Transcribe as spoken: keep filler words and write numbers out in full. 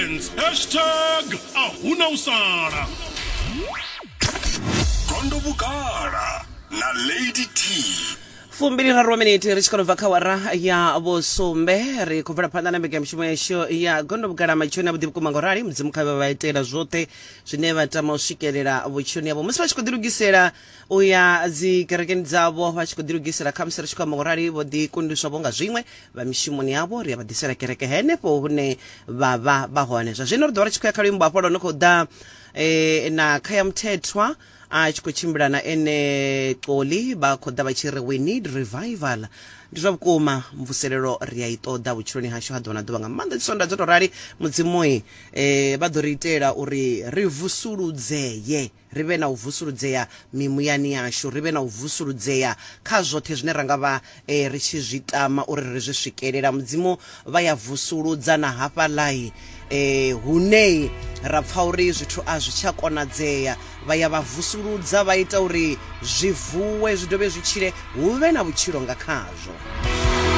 Gardens. Hashtag a huna u sala. Gondo Vhugala na Lady T. Fumbili raru wa miniti ri tshi khou bva kha wara ya vhusumbe, ri khou bvela phanḓa na mbekanyamushumo yashu ya Gondo Vhugala. Matsheloni a vhuḓi vhukuma ngo rali, Mudzimu kha vhe vha itela zwoṱhe zwine vha tama u swikelela vhutshiloni yavho musi vha tshi khou ḓilugisela u ya dzi kerekeni dzavho, vha tshi khou ḓilugisela khamusi ri tshi khou amba ngo rali vho ḓi kundiswa vho nga zwiṅwe vha mishumoni yavho, ri a vha ḓisela kereke henefho hune vha vha vha hone. Zwa zwino ri ḓo vha ri tshi khou ya kha luimbo hafha lwo no khou ḓa eh, na Khaya Mthethwa a tshi khou tshimbila na ene Xoli, vha khou ḓa vha tshi ri "We need revival". Ndi zwa vhukuma, mvuselelo ri a i ṱoḓa vhutshiloni hashu ha ḓuvha na ḓuvha, nga maanḓa dzisonda dzo to rali. Mudzimui eh, vha ḓo ri itela uri ri vusuludzee, ri vhe na u vusuludzea mimuyani yashu, ri vhe na u vusuludzea kha zwoṱhe zwine ra nga vha eh, ri tshi zwi tama uri ri zwi swikelela. Mudzimu vha ya vusuludza na hafhaḽai eh, hune ra pfa uri zwithu a zwi tsha konadzea, vha ya vha vusuludza, vha ita uri zwi vuwe, zwi dovhe zwi tshile, hu vhe na vhutshilo nga khazwo.